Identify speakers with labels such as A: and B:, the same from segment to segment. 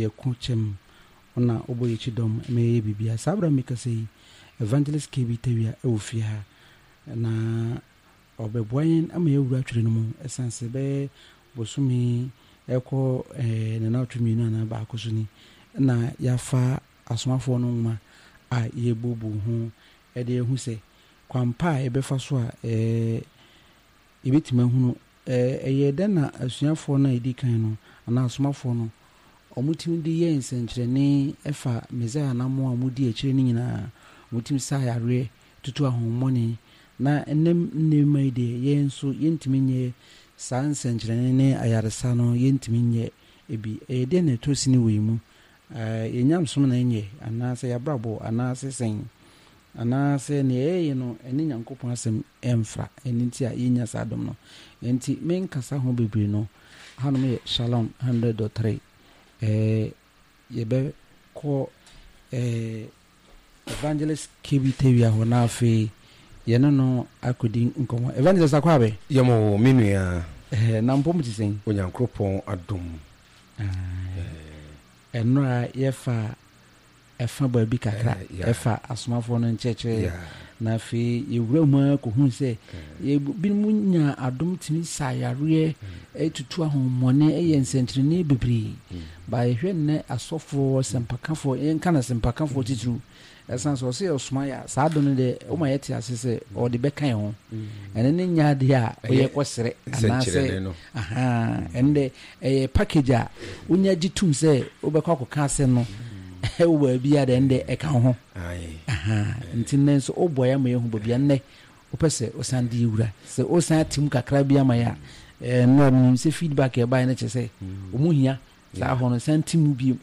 A: yɛko kyɛm. Ɔna ɔbɔ yɛn kyidɔm ma yɛyɛ biribiara. Saa berɛ a mekasa yi, Evangelist KB Tawia wɔ fie ha, na ɔbɛboa yɛn ama yɛawura twerɛ no mu. Ɛsiane sɛ bɛyɛ bosome ɛkɔ ne nnawɔtwe mmienu anaa baako so ni na yɛafa Asomafoɔ no nwoma a yɛrebuebue ho de ahu sɛ kwan pa a yɛbɛfa so a yɛbɛtumi ahunu Ɛyɛɛ dɛn na asuafoɔ no a ɛdi kan no, anaa asomafoɔ no, wɔtumi de yɛɛ nsɛnkyerɛnne fa Mesaia anammɔn a wɔdii akyire no nyinaa? Wɔtumi saa yareɛ, tutu ahonhommɔne, na ɛnnɛ nneɛma yi deɛ, yɛn nso yɛntumi nyɛ saa nsɛnkyerɛnne ne ayaresa no, yɛntumi nyɛ bi. Ɛyɛ dɛn na ɛtɔ sini wɔ yɛn mu? Yɛn nyamesom na ɛnyɛ, anaasɛ yɛn abrabɔ, anaasɛ sɛn? Anaasɛ nea yɛyɛ no ɛne Nyankopɔn asɛm ɛmfra, ɛno nti a yɛnnya saa adom no. Ɛnti menkasa ho bebree no, hanom yɛ Shalom 100.3, ɛɛ yɛbɛkɔ ɛɛ Evangelist KB Tawia hɔ na afei yɛne no akɔdi nkɔmmɔ. Evangelist Akwabe.
B: Yɛm o, me nua.
A: Ɛɛ na mpom te sɛn?
B: Onyankoropɔn adom.
A: Ɛɛ ɛnora yɛfa ɛfa baabi kakra ɛfa asomafoɔ no nkyerɛkyerɛ na afei yɛwura mu ara kɔhunu sɛ binom nya adom tumi sa yareɛ tutu ahommɔne yɛ nsɛnkyerɛnne bebree ba yɛhwɛ nnɛ asɔfoɔ sɛmpakafoɔ yɛnka no sɛmpakafoɔ titiriw ɛsan sɛ ɔsɛ ɔsoma yɛ saa adom no deɛ woma yɛte ase sɛ ɔde bɛka yɛn ho ɛno ne nyɛ adeɛ a woyɛ kɔsrɛ anaasɛ ɛno deɛ ɛyɛ package a wonya gye tom sɛ wobɛkɔ akɔka asɛm no ɛwɔ baabi a deɛ ɛno deɛ ɛka wo ho nti nnɛ nso wobɔ yɛ ama yɛhu baabi a nnɛ wopɛ sɛ wosan de yɛwura sɛ wosan atem kakra bi ama yɛ a ɛno a menim sɛ feedback ɛbaeɛ no kyerɛ sɛ ɔmu hia saa hɔ no san ti mu bio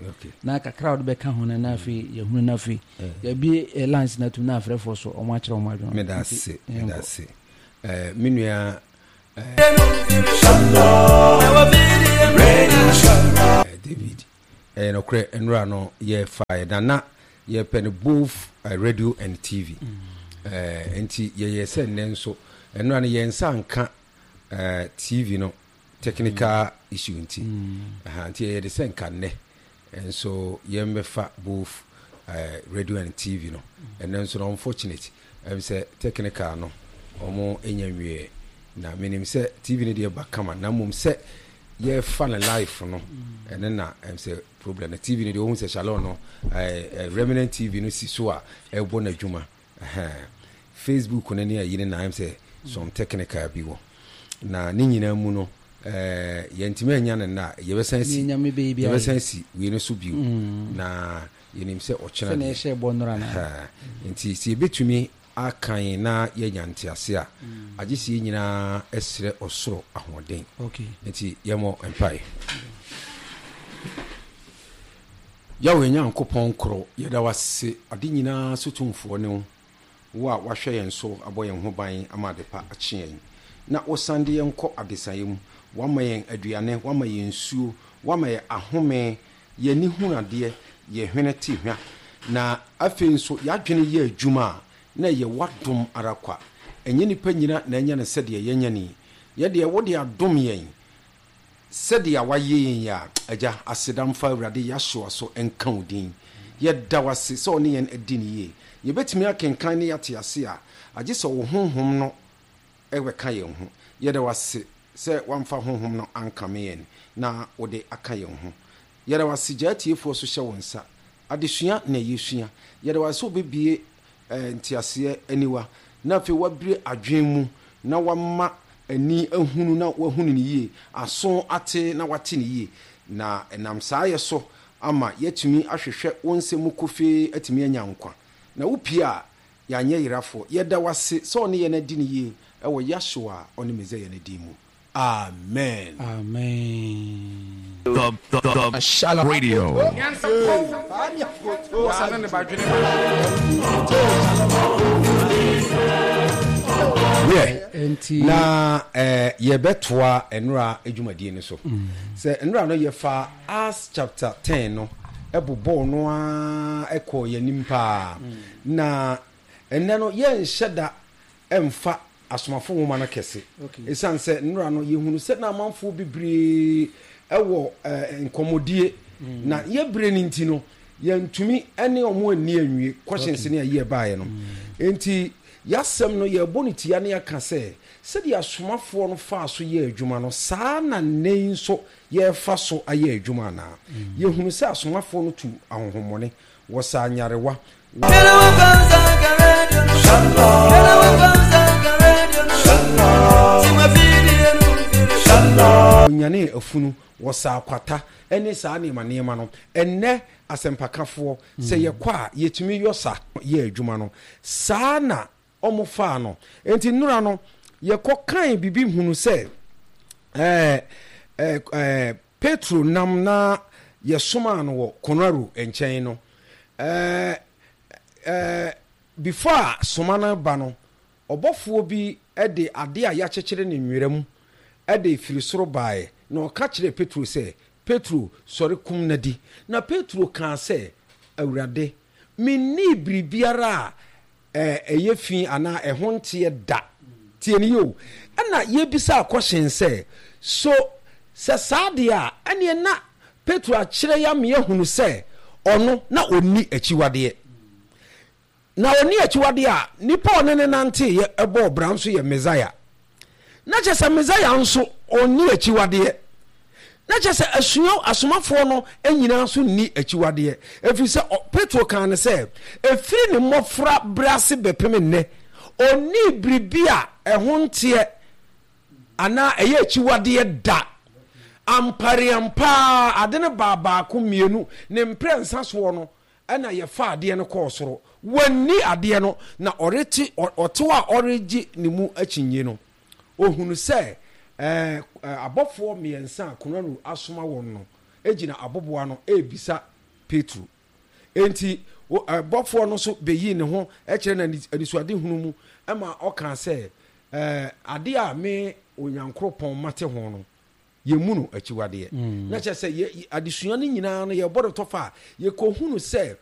A: na kakra a wɔde bɛka ho no na afei yɛhunu na afei yɛabie lines no atum na afrɛfoɔ so wɔn akyerɛ wɔn adwene.
B: Meda ase, meda ase. Me nua David, ɛyɛ nokorɛ nnora no yɛfaeɛ na na yɛpɛ no both radio and TV. Nti yɛyɛ sɛ nnɛ nso nnora no yɛn nsa nka TV no technical issue nti aha nti yɛyɛ de sɛ nka nnɛ nso yɛmmɛfa both radio and TV no ɛnɛ nso no unfortunate ɛm sɛ technical no wɔn nya nwieɛ na menim sɛ TV no deɛ ba kama na mmom sɛ yɛfa no live no ɛno na ɛm sɛ problem no TV no deɛ wɔhu sɛ Shalom no Remnant TV no si so a ɛbɔ n'adwuma. Ɛhɛn. Facebook no ne ayi no na ayɛ sɛ some technical bi wɔ. Na ne nyinaa mu no, eh, yɛntumi annya no nnɛ a, yɛbɛsan asi,
A: Nyame bɛyɛ bi ayɛ.
B: yɛbɛsan asi wei no so bio. Na yɛnim sɛ ɔkyena
A: Sɛnea
B: deɛ.
A: yɛhyɛɛ bɔ nnora no ara.
B: Ɛhɛn. Nti sɛ yɛbɛtumi akan na yɛanya ntease a, agye sɛ yɛn nyinaa srɛ ɔsoro ahoɔden.
A: Okay.
B: Nti yɛmmɔ mpaeɛ. Yahweh Nyankopɔn koro, yɛda wo ase, ade nyinaa so tumfoɔ ne wo, wo a woahwɛ yɛn so abɔ yɛn ho ban ama adepa akye yɛn, na wosan de yɛn kɔ adesaeɛ mu. Woama yɛn aduane, woama yɛn nsuo, woama yɛn ahome, yɛn ani hunu adeɛ, yɛn hwene te hwa, na afei nso yɛn adwene yɛ adwuma a, na ɛyɛ w'adom ara kwa. Ɛnyɛ nnipa nyina na anya no sɛdeɛ yɛanya no yi. Yɛn deɛ, wode adom yɛn. Sɛdeɛ wayɛ yɛn yi a, Agya, aseda mfa Awurade Yahshua so nka wo din. Yɛda wo ase sɛ wo ne yɛn adi no yie. Yɛbɛtumi akenkan na yɛate ase a, agye sɛ wo Honhom no bɛka yɛn ho. Yɛda wo ase sɛ woamfa Honhom no ankame yɛn na wode aka yɛn ho. Yɛda wo ase gya atiefoɔ so hyɛ wo nsa. Adesua na yɛsua. Yɛda wo ase sɛ wobɛbue nteaseɛ aniwa na afei wabue adwene mu na wama ani ahunu na wahunu no yie, aso ate na wate no yie. Na ɛnam saa yɛ so ama yɛatumi ahwehwɛ wo nsɛm mu kofee atumi anya nkwa. Na wopue a, yɛanyɛ yerafoɔ. Yɛda wo ase sɛ wo ne yɛn adi no yie wɔ Yahshua a ɔne Mesaia no din mu. Amen.
A: Amen.
C: The the the Shalom Radio.
B: Wiɛ,
A: Enti.
B: na eh, yɛbɛtoa nnora dwumadie no so. Sɛ nnora no yɛfa Acts chapter 10 no ɛbobɔɔ no ara ɛkɔɔ yɛn anim paa. Na ɛnnɛ no yɛnhyɛ da mfa Asomafo nwoma no kɛse. Esiane sɛ nnora no, yɛhunu sɛ na amanfoɔ bebree wɔ nkɔmmɔdie. Na yɛ berɛ no nti no, yɛntumi ne wɔn anni anwie questions ne ayi ɛbaeɛ no. Enti yɛasɛm no yɛrebɔ no tia ne yɛaka sɛ, sɛdeɛ asomafoɔ no faa so yɛɛ adwuma no, saa na nnɛ yi nso yɛrefa so ayɛ adwuma anaa? Yɛhunu sɛ asomafoɔ no tuu ahonhommɔne, wɔsaa nyarewa, Wɔnyanee afunu, wɔsaa kwata ne saa nneɛma nneɛma no. Ɛnnɛ asɛmpakafoɔ, sɛ yɛkɔ a, yɛtumi yɔ sa yɛ adwuma no. Saa na wɔfaa no. Enti nnora no, yɛkɔ kan biribi hunu sɛ ɛɛ ɛɛ Petro nam na yɛsomaa no wɔ Konaro nkyɛn no, ɛɛ ɛɛ before a soma no ba no, ɔbɔfoɔ bi de adeɛ a yɛakyekyere no nwera mu de firi soro baeɛ, na ɔka kyerɛɛ Petro sɛ, Petro, sɔre kum na di. Na Petro kaa sɛ, Awurade, mennii biribiara a ɛyɛ fi anaa ɛho nteɛ da. Tie no yie o. Ɛna yɛbisaa kɔhyen sɛ, So sɛ saa deɛ a, ɛneɛ na Petro akyerɛ yɛ ama yɛahunu sɛ ɔno na ɔnni akyiwadeɛ. Na ɔnni akyiwadeɛ a, nipa a ɔne no nanteeɛ bɔɔ bra nso yɛ Mesaia. Na kyerɛ sɛ Mesaia nso ɔnni akyiwadeɛ. Na kyerɛ sɛ asua asomafoɔ no nyinaa nso nni akyiwadeɛ, ɛfiri sɛ Petro kaa no sɛ, ɛfiri ne mmɔfra berɛ ase bɛpem nnɛ, ɔnnii biribi a ɛho nteɛ anaa ɛyɛ akyiwadeɛ da. Ampareampa ara, ade no baa baako, mmienu, ne mprɛnsa soɔ no, Ɛnna yɛfaa adeɛ no kɔɔ soro. Wanni adeɛ no, na ɔrete ɔtew a ɔregye ne mu akyinnye no, ɔhunu sɛ abɔfoɔ mmiɛnsa a Kornelio asoma wɔn no gyina aboboa ano rebisa Petro. Enti bɔfoɔ no nso bɛyii ne ho kyerɛɛ no anisoadehunu mu ma ɔkaa sɛ, Adeɛ a me Onyankoropɔn mate ho no, yɛmmu no akyiwadeɛ. Na kyerɛ sɛ yɛ adesua no nyinaa no yɛbɔ no tɔfa a, yɛkɔhunu sɛ.